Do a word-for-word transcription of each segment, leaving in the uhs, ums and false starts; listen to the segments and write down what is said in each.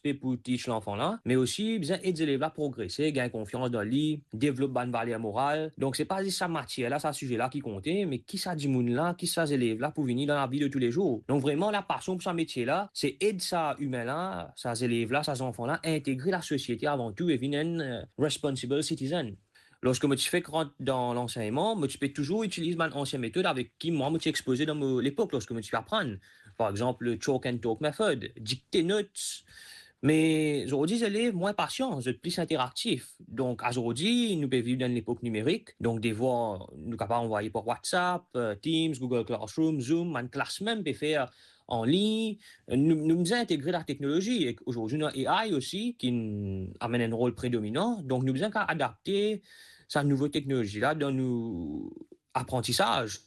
pe pou teach lanfan la, me osi bizin ed zelev la progrese, gagn konfians dan li, devlop bann valer moral. Donk, se pa zis sa matier la, sa size la ki konte, me ki sa dimoun la, ki sa zelev la pou vini dan lavi de toulezour. Donk, vreman, lapasion pou sa metie la, se ed sa imin la, sa zelev la, sa zanfan la, integre lasosiete avan tou e vinn enn, eh, responsible citizen. Lorski mo ti fek rant dan lansegnman, mo ti pe touzour itiliz bann ansien metod avek ki mwa mo ti expoze dan mo lepok lorski mo ti pe aprann. Par exanp, chalk and talk method, dikte not. Me zordi, zelev mwa inpasian, zot pli interaktif. Donk, azordi, nou pe viv dan enn lepok nimerik. Donk, devwar, nou kapav anvwaye par WhatsApp, eh, Teams, Google Classroom, Zoom, bann klas mem pe fer an lign. Nou, nou bizin integre lateknolozi. E azordi, nou ena A I osi ki amenn enn rol predominan. Donk, nou bizin kapav adapte sa nouvo teknolozi la dan nou aprantisaz.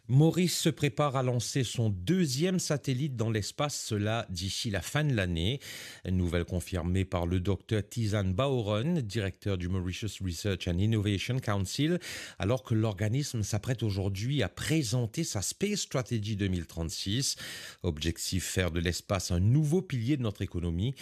Maurice se prépare à lancer son deuxième satellite dans l'espace, cela d'ici la fin de l'année. Nouvelle confirmée par le docteur Tizan Baoron, directeur du Mauritius Research and Innovation Council, alors que l'organisme s'apprête aujourd'hui à présenter sa Space Strategy deux mille trente-six. Objectif, faire de l'espace un nouveau pilier de notre économie.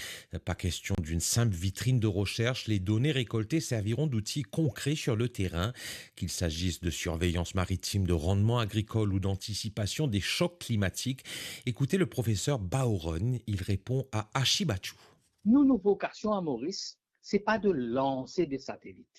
Pas question d'une simple vitrine de recherche, les données récoltées serviront d'outils concrets sur le terrain. Qu'il s'agisse de surveillance maritime, de rendement agricole ou d'anticipation des chocs climatiques, écoutez le professeur Baoron, il répond à Ashi Bachoo. Nou, nou vokasion a Moris, se pa de lanse de satelit.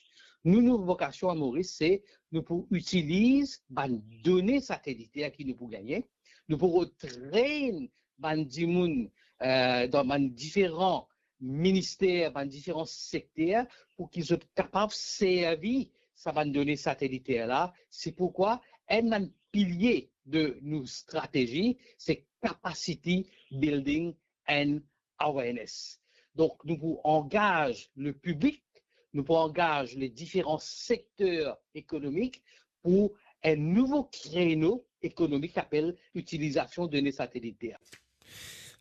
Nou, nou vokasion a Moris, se nou pou itiliz bann done sateliter ki nou pou gagne, nou pou retrain bann dimoun, eh, dan bann diferan minister, bann diferan sekter, pou ki zot kapav servi sa bann done sateliter la. Se poukwa enn bann pilie de nou stratezi, se capacity building and awareness. Donk, nou pou angaz le piblik, nou pou angaz le diferan sekter ekonomik pou enn nouvo kreno ekonomik ki apel itilizasion done sateliter.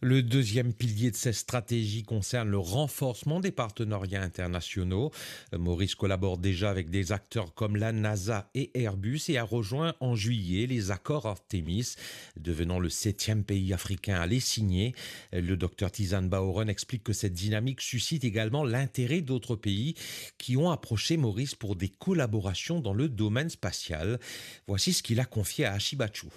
Le deuxième pilier de cette stratégie concerne le renforcement des partenariats internationaux. Maurice collabore déjà avec des acteurs comme la NASA et Airbus et a rejoint en juillet les accords Artemis, devenant le septième pays africain à les signer. Le docteur Tizan Baoron explique que cette dynamique suscite également l'intérêt d'autres pays qui ont approché Maurice pour des collaborations dans le domaine spatial. Voici ce qu'il a confié à Ashi Bachoo.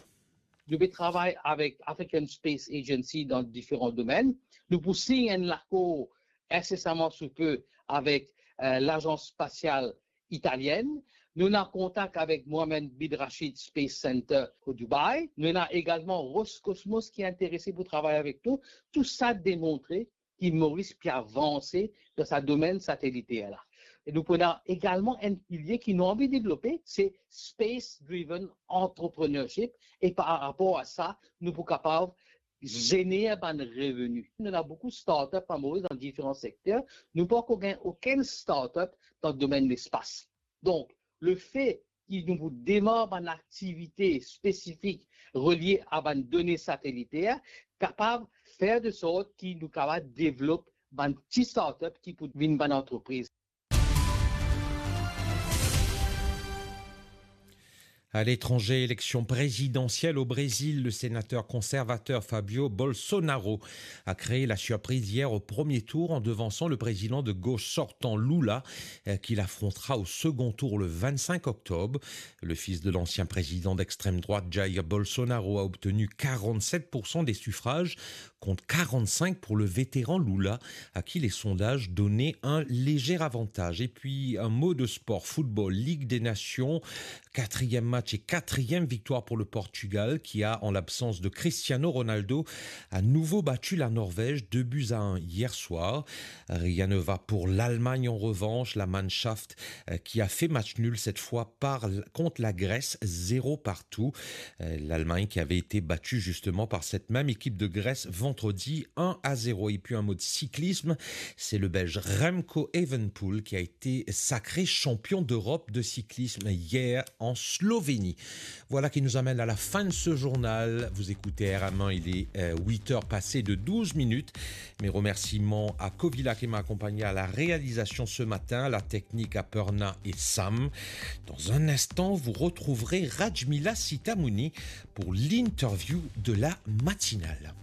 Nou pe travay avek African Space Agency dan diferan domenn. Nou pou sign enn lakor insesaman sou pe avek, eh, Lazans Spasial Italienn. Nou ena kontak avek Mohammed bin Rashid Space Center o Dubai. Nou ena egalman Roscosmos ki interese pou travay avek nou. Tou sa demontre ki Moris pe avanse dan sa domenn sateliter la. E nou pou ena egalman enn pilie ki nou anvi devlope, se space driven entrepreneurship, e par rapor a sa, nou pou kapav zener bann reveni. Nou ena boukou startup a Moris dan diferan sekter, nou pankor gagn okenn startup dan domenn lespas. Donk, lefe ki nou pou demar bann aktivite spesifik relie a bann done sateliter, kapav fer de sort ki nou kapav devlop bann ti startup ki pou vinn bann antrepriz. À l'étranger, élection présidentielle au Brésil, le sénateur conservateur Fabio Bolsonaro a créé la surprise hier au premier tour en devançant le président de gauche sortant Lula, euh, qu'il affrontera au second tour le vingt-cinq octobre. Le fils de l'ancien président d'extrême droite Jair Bolsonaro a obtenu quarante-sept pour cent des suffrages contre quarante-cinq pour le vétéran Lula, à qui les sondages donnaient un léger avantage. Et puis un mot de sport, football, Ligue des Nations, quatrième match et quatrième victoire pour le Portugal qui a, en l'absence de Cristiano Ronaldo, à nouveau battu la Norvège deux buts à un hier soir. Rien ne va pour l'Allemagne en revanche, la Mannschaft, euh, qui a fait match nul cette fois par, contre la Grèce, zéro partout. Euh, l'Allemagne qui avait été battue justement par cette même équipe de Grèce vendredi un à zéro. Et puis un mot de cyclisme, c'est le Belge Remco Evenepoel qui a été sacré champion d'Europe de cyclisme hier en Slovénie. Voilà qui nous amène à la fin de ce journal. Vous écoutez R M un, il est, euh, huit heures passées de douze minutes. Mes remerciements à Covila qui m'a accompagné à la réalisation ce matin, la technique à Perna et Sam. Dans un instant, vous retrouverez Rajmila Sitamouni pour l'interview de la matinale.